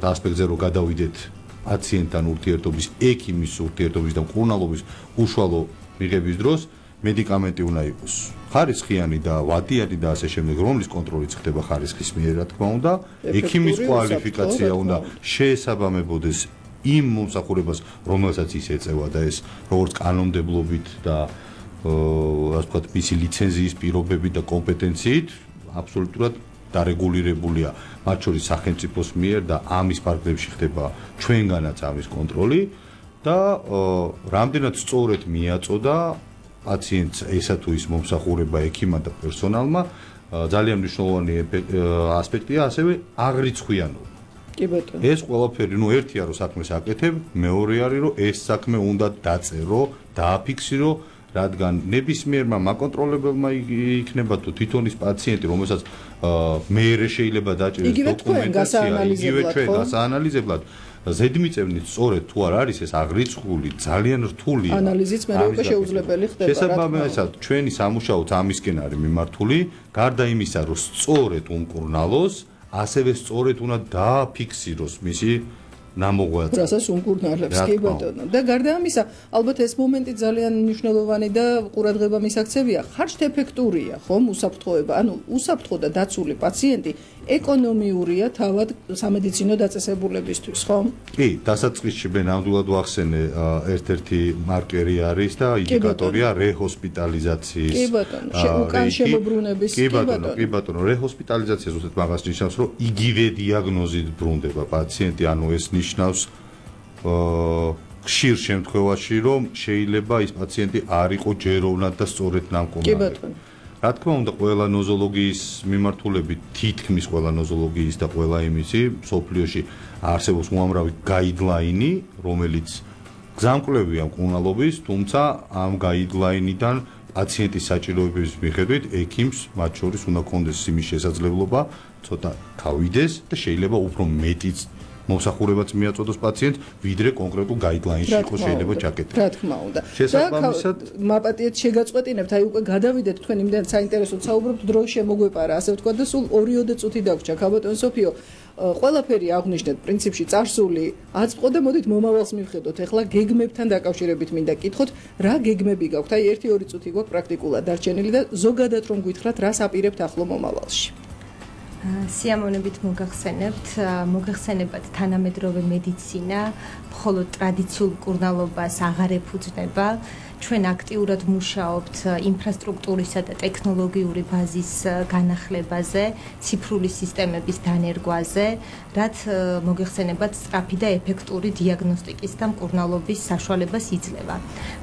ვთქვათ, ასპექტზე რომ გადავიდეთ პაციენტთან ურთიერთობის, ექიმის ურთიერთობის და მკურნალობის უშუალო მიღების დროს მედიკამენტი უნდა იყოს ხარისხიანი და ვადიანი და ასე შემდეგ, რომლის კონტროლიც ხდება ხარისხის მიერ, რა თქმა უნდა, ექიმის კვალიფიკაცია უნდა შეესაბამებოდეს იმ მომსახურებას, რომელსაც ის ეწევა და ეს როგორც კანონმდებლობით და ასე ვთქვათ, მისი ლიცენზიის პირობებით და კომპეტენციით აბსოლუტურად დარეგულირებულია, მათ შორის სახელმწიფოს მიერ და ამის ფარგლებში ხდება ჩვენგანაც ამის კონტროლი და რამდენად სწორედ მიაწოდა პაციენტს ესა თუ ის მომსახურება ექიმმა და პერსონალმა ძალიან მნიშვნელოვანი ასპექტია ასევე აღრიცხვიანობა. კი ბატონო. ეს ყველაფერი, ერთია რომ საქმეს აკეთებ, მეორე არის რომ ეს საქმე უნდა დაწერო, დააფიქსირო, რადგან ნებისმიერმა მაკონტროლებელმა იქნება თუ თვითონ ის პაციენტი, რომელსაც მეერე შეიძლება დაჭეროს დოკუმენტაცია, იგივე ჩვენ გასაანალიზებლად ზედმიწევნით სწორედ თუ არ არის ეს აღრიცხული, ძალიან რთული ანალიზიც მე უკვე შეუძლებელი ხდება. შესაბამისად, ჩვენი სამუშაოც ამისკენ არის მიმართული, გარდა იმისა, რომ სწორედ უმკურნალოს, ასევე სწორედ უნდა დააფიქსიროს მისი ნამოღვაწე. რასაც უმკურნალებს, კი ბატონო. და გარდა ამისა, ალბათ ეს მომენტი ძალიან მნიშვნელოვანი და ყურადღება მისაქცევია. ხარჯთეფექტურია, ხომ, უსაფრთხოება. ანუ უსაფრთხო და დაცული პაციენტი ეკონომიურია თავად სამედიცინო დაწესებულებისთვის, ხომ? კი, დასაწყისში მე ნამდვილად ვახსენე ერთ-ერთი მარკერი არის და ინდიკატორია რეჰოსპიტალიზაციის. კი ბატონო, უკან შემოbrunების, კი ბატონო, რეჰოსპიტალიზაცია ზუსტად მაგას ნიშნავს, რომ იგივე დიაგნოზით ბრუნდება პაციენტი, ანუ ეს ნიშნავს ხშირ შემთხვევაში, რომ შეიძლება ის პაციენტი არ იყო ჯეროვნად და სწორედ ნამკომარი. კი ბატონო. რა თქმა უნდა, ყველა ნოზოლოგიის მიმართულებით, თითქმის ყველა ნოზოლოგიის და ყველა იმისი მსოფლიოში არსებობს უამრავი გაიდლაინი, რომელიც გზამკვლევია მკურნალობის, თუმცა ამ გაიდლაინიდან პაციენტის საჭიროებების მიხედვით ექიმს მათ შორის უნდა კონდეს იმის შესაძლებლობა ცოტა თავიდეს და შეიძლება უფრო მეტიც მომსახურებაც მიაწოდოს პაციენტს, ვიდრე კონკრეტულ გაიდლაინში იყო შეიძლება ჩაკეტილი. რა თქმა უნდა. შესაბამისად, მაპატიეთ შეგაწყვეტინებთ, აი უკვე გადავიდეთ თქვენ იმდენ საინტერესოდ საუბრობთ, დრო შემოგვეპარა, ასე ვთქვა და სულ 2-3 წუთი დაგვრჩა. ქალბატონ სოფიო, ყველაფერი აღნიშნეთ, პრინციპში წარსული აწყო და მოდით მომავალს მივხედოთ. ეხლა გეგმებთან დაკავშირებით მინდა კითხოთ, რა გეგმები გაქვთ? აი 1-2 წუთი გვაქვს პრაქტიკულად დარჩენილი და ზოგადად რომ გითხრათ, რას აპირებთ ახლო მომავალში? სიამოვნებით მოგახსენებათ თანამედროვე მედიცინა მხოლოდ ტრადიციულ მკურნალობას აღარ ეფუძნება. ჩვენ აქტიურად მუშაობთ ინფრასტრუქტურისა და ტექნოლოგიური ბაზის განახლებაზე, ციფრული სისტემების დანერგვაზე, რაც მოგეხსენებათ სწრაფი და ეფექტური დიაგნოსტიკის და მკურნალობის საშუალებას იძლევა.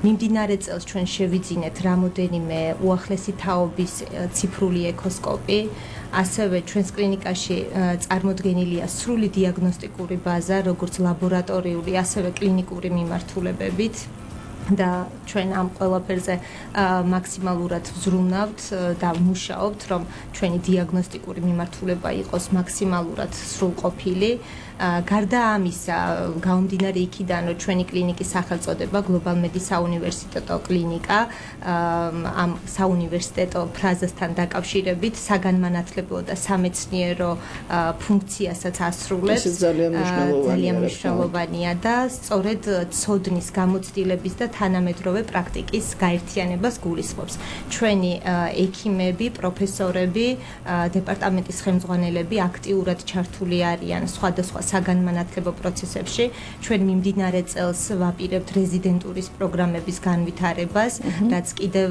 მიმდინარე წელს ჩვენ შევიძინეთ რამოდენიმე უახლესი თაობის ციფრული ეკოსკოპი, ასევე ჩვენს კლინიკაში წარმოდგენილია სრული დიაგნოსტიკური ბაზა, როგორც ლაბორატორიული, ასევე კლინიკური მიმართულებებით. და ჩვენ ამ ყველაფერზე მაქსიმალურად ვზრუნავთ და მუშაობთ, რომ ჩვენი დიაგნოსტიკური მიმართულება იყოს მაქსიმალურად სრულყოფილი. გარდა ამისა, გამომდინარე იქიდან, რომ ჩვენი კლინიკის სახელწოდება Global Medis საუნივერსიტეტო კლინიკა, ამ საუნივერსიტეტო ფრაზასთან დაკავშირებით საგანმანათლებლო და სამეცნიერო ფუნქციასაც ასრულებს. ძალიან მნიშვნელოვანია და სწორედ ცოდნის გამოცდილების და თანამედროვე პრაქტიკის გაერთიანებას გულისხმობს. ჩვენი ექიმები, პროფესორები, დეპარტამენტის ხელმძღვანელები აქტიურად ჩართული არიან სხვადასხვა საგანმანათლებლო პროცესებში. ჩვენ მიმდინარე წელს ვაპირებთ რეზიდენტურის პროგრამების განვითარებას, რაც კიდევ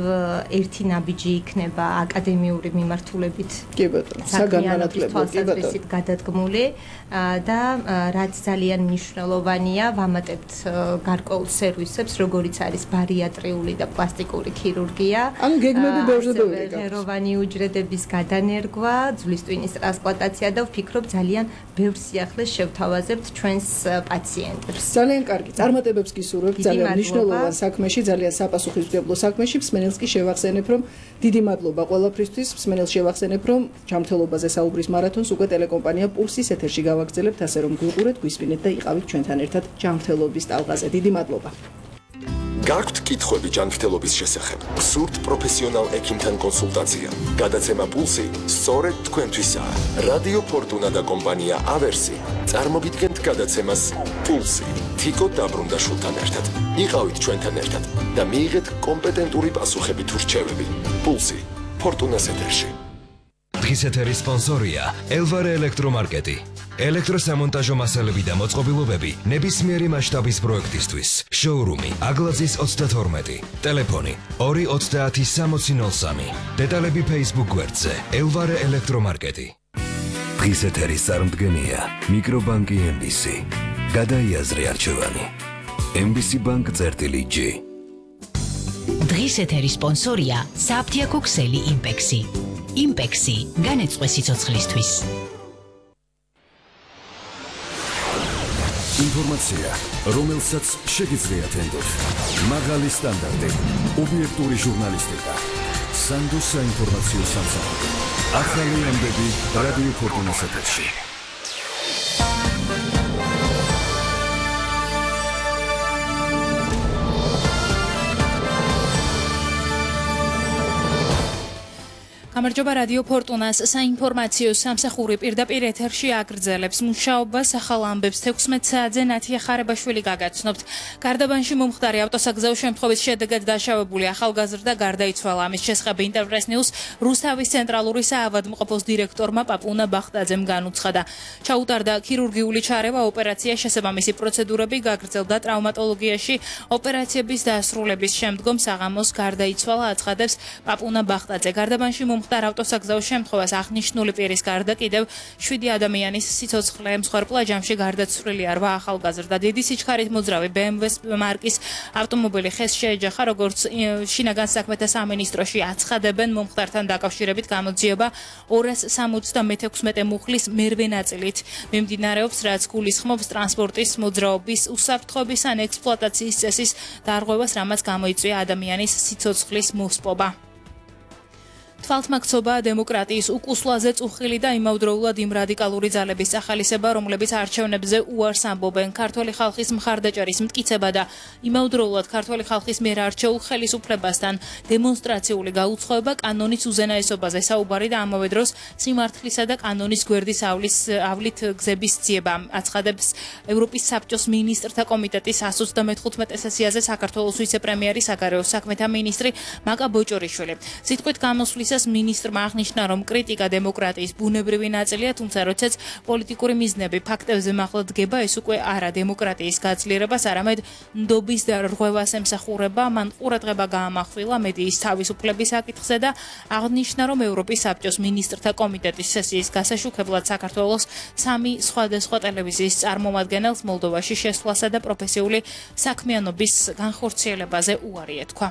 ერთი ნაბიჯი იქნება აკადემიური მიმართულებით. კი ბატონო, საგანმანათლებლო თვალსაზრისით გადადგმული და რაც ძალიან მნიშვნელოვანია, ვამატებთ გარკვეულ სერვისებს, როგორიც არის ბარიატრიული და პლასტიკური ქირურგია. ანუ გეგმები ბევრზე ბევრი გაქვს. ღეროვანი უჯრედების გადანერგვა, ძვლის ტვინის ტრანსპლანტაცია და ვფიქრობ ძალიან ბევრ სიახლეს შევთავაზებთ ჩვენს პაციენტებს. ძალიან კარგი. წარმატებებს გისურვებთ ძალიან მნიშვნელოვან საქმეში, ძალიან საპასუხისმგებლო საქმეში. მსმენელს კი შევახსენებ, რომ დიდი მადლობა ყველაფრისთვის. მსმენელს შევახსენებ, რომ ჯანმრთელობაზე საუბრის მარათონს უკვე ტელეკომპანია პულსის ეთერში გავაგრძელებთ, ასე რომ გვიყურეთ, გვისმინეთ და იყავით ჩვენთან ერთად ჯანმრთელობის ტალღაზე. დიდი მადლობა. გაქვთ კითხვები ჯანმრთელობის შესახებ? გსურთ პროფესიონალ ექიმთან კონსულტაცია? გადაცემა პულსი სწორედ თქვენთვისაა. რადიო ფორტუნა და კომპანია ავერსი წარმოგიდგენთ გადაცემას პულსი. თიკო დაბრუნდაშვილთან ერთად. იყავით ჩვენთან ერთად და მიიღეთ კომპეტენტური პასუხები თუ რჩევები. პულსი ფორტუნას ეთერში. დღის ეთერის სპონსორია ელვარე ელექტრომარკეტი. ელექტროსამონტაჟო მასალები და მოწყობილობები ნებისმიერი მასშტაბის პროექტისთვის. შოურუმი აგლაძის 32. ტელეფონი 2306003. დეტალები Facebook გვერდზე ელვარე ელექტრომარკეტი. დღის ეთერის წარმდგენია მიკრობანკი MBC. გადაიაზრე არჩევანი. MBC Bank-G. დღის ეთერის სპონსორია საფთიაქო ქსელი იმპექსი. იმპექსი განეწყვე სიცოცხლისთვის. ინფორმაცია, რომელსაც შეგიძლიათ ენდოთ. მაღალი სტანდარტი, ობიექტური ჟურნალისტიკა. სანდოს საინფორმაციო სამსახური. ახალი ამბები რადიო ფორტუნას ეთერში. გამარჯობა რადიო ფორტუნას საინფორმაციო სამსახური პირდაპირ ეთერში აგრძელებს მუშაობას ახალ ამბებს 16 საათზე ნათია ხარებაშვილი გაგაცნობთ. გარდაბანში მომხდარი ავტოსაგზაო შემთხვევის შედეგად დაშავებული ახალგაზრდა გარდაიცვალა. ამის შესახებ ინტერპრეს ნიუს რუსთავის ცენტრალური საავადმყოფოს დირექტორმა პაპუნა ბახტაძემ განუცხადა. ჩაუტარდა ქირურგიული ჩარევა, ოპერაცია, შესაბამისი პროცედურები გაგრძელდა ტრავმატოლოგიაში. ოპერაციების დასრულების შემდგომ საღამოს გარდაიცვალა, აცხადებს პაპუნა ბახტაძე. გარდაბანში მომხდარ ავტოსაგზაო შემთხვევას აღნიშნული პირის გარდა კიდევ 7 ადამიანის სიცოცხლე მსხვერპლ ჯამში გარდაცვლილია 8 ახალგაზრდა. დიდი სიჩქარით მოძრავი BMW მარკის ავტომობილი ხეს შეეჯახა, როგორც შინაგან საქმეთა სამინისტროში აცხადებენ, მომხდართან დაკავშირებით გამოძიება 276 მუხლის მერვე ნაწილით მიმდინარეობს, რაც გულისხმობს ტრანსპორტის მოძრაობის უსაფრთხოების ან ექსპლუატაციის წესის დარღვევას, რამაც გამოიწვია ადამიანის სიცოცხლის მოსპობა. თვალთმაქცობა დემოკრატიის უკუსლაზე წუხილი და იმავდროულად იმ რადიკალური ძალების ახალისება, რომლებიც არჩევნებზე უარს ამბობენ. ქართული ხალხის მხარდაჭერის მტკიცება და იმავდროულად ქართული ხალხის მიერ არჩეულ ხელისუფლებასთან დემონსტრაციული გაუცხოება, კანონის უზენაესობაზე საუბარი და ამავე დროს სიმართლისა და კანონის გვერდის ავლით გზების ძიება, აცხადებს ევროპის საბჭოს მინისტრთა კომიტეტის 135 სესიაზე საქართველოს ვიცე-პრემიერი, საგარეო საქმეთა მინისტრი მაკა ბოჭორიშვილი. სიტყვით გამოსვლისას მინისტრმა აღნიშნა, რომ კრიტიკა დემოკრატიის ბუნებრივი ნაწილია, თუმცა როდესაც პოლიტიკური მიზნები ფაქტებზე მაღლა დგება, ეს უკვე არა დემოკრატიის გაძლიერებას, არამედ ნდობის და რღვევას ემსახურება. მან ყურადღება გაამახვილა მედიის თავისუფლების საკითხზე და აღნიშნა, რომ ევროპის საბჭოს მინისტრთა კომიტეტის სესიის გასაშუქებლად საქართველოს 3 სხვადასხვა ტელევიზიის წარმომადგენელს მოლდოვაში შესვლასა და პროფესიული საქმიანობის განხორციელებაზე უარი ეთქვა.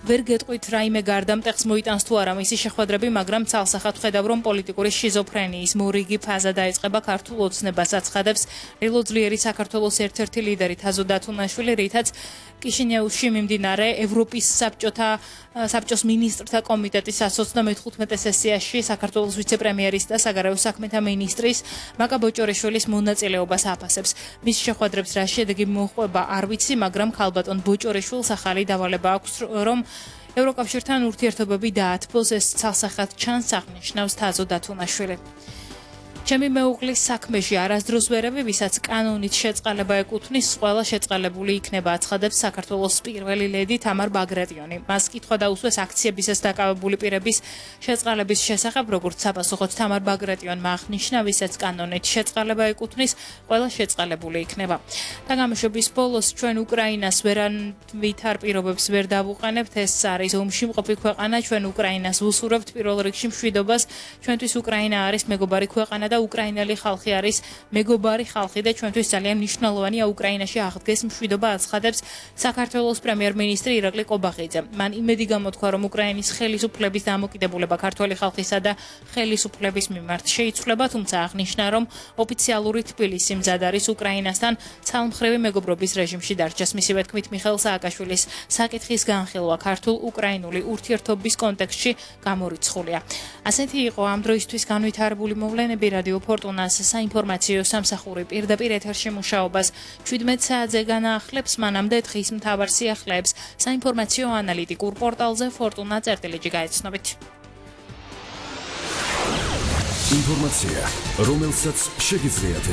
ვერ გეტყვით რაიმე გარდამტეხს მოიტანს თუ არა მისი შეხვედრები, მაგრამ ცალსახად ხედავ, რომ პოლიტიკური შიზოფრენიის მორიგი ფაზა დაიწყება ქართულ ოცნებას, აცხადებს ელოძლიერი საქართველოს ერთ-ერთი ლიდერი თაზო დათუნაშვილი, რითაც კიშინეუში მიმდინარე ევროპის საბჭოს მინისტრთა კომიტეტის 135 სესიაში საქართველოს ვიცე-პრემიერის და საგარეო საქმეთა მინისტრის მაკა ბოჭორიშვილის მონაწილეობას აფასებს. მის შეხვედრებს რა შედეგი მოჰყვება არ ვიცი, მაგრამ ქალბატონ ბოჭორიშვილს ახალი დავალება აქვს, რომ ევროკავშირთან ურთიერთობები დაათბოს, ეს ცალსახად ჩანს, აღნიშნავს თაზო დათუნაშვილი. ჩემი მეუღლის საქმეში არასდროს ვერები, ვისაც კანონით შეწყალება ეკუთვნის, ყველა შეწყალებული იქნება, აცხადებს საქართველოს პირველი ლედი თამარ ბაგრატიონი. მას კითხვა დაუსვეს აქციებისას დაკავებული პირების შეწყალების შესახებ, როგორც საპასუხოდ თამარ ბაგრატიონმა აღნიშნა, ვისაც კანონით შეწყალება ეკუთვნის, ყველა შეწყალებული იქნება. თამაშობის ბოლოს ჩვენ უკრაინას ვერავითარ პირობებს ვერ დავუყენებთ, ეს არის ომში მყოფი ქვეყანა, ჩვენ უკრაინას ვუსურვებთ პირველ რიგში მშვიდობას, ჩვენთვის უკრაინა არის მეგობარი ქვეყანა და უკრაინელი ხალხი არის მეგობარი ხალხი და ჩვენთვის ძალიან მნიშვნელოვანია უკრაინაში აღდგეს მშვიდობა, აცხადებს საქართველოს პრემიერ-მინისტრი ირაკლი კობახიძე. მან იმედი გამოთქვა, რომ უკრაინის ხელისუფლების დამოკიდებულება ქართული ხალხისა და ხელისუფლების მიმართ შეიცვლება, თუმცა აღნიშნა, რომ ოფიციალური თბილისი მზად არის უკრაინასთან ცალმხრივი მეგობრობის რეჟიმში დარჩეს. მისივე თქმით, მიხეილ სააკაშვილის საკითხის განხილვა ქართულ-უკრაინული ურთიერთობის კონტექსტში გამორიცხულია. ასეთი იყო ამ დროისთვის განვითარებული მოვლენები. რადიო ფორტუნას საინფორმაციო სამსახური პირდაპირ ეთერში მუშაობას 17 საათზე განაახლებს, მანამდე დღის მთავარ სიახლეებს საინფორმაციო ანალიტიკურ პორტალზე fortuna.gt გაეცნობით. ინფორმაცია, რომელსაც შეგიძლიათ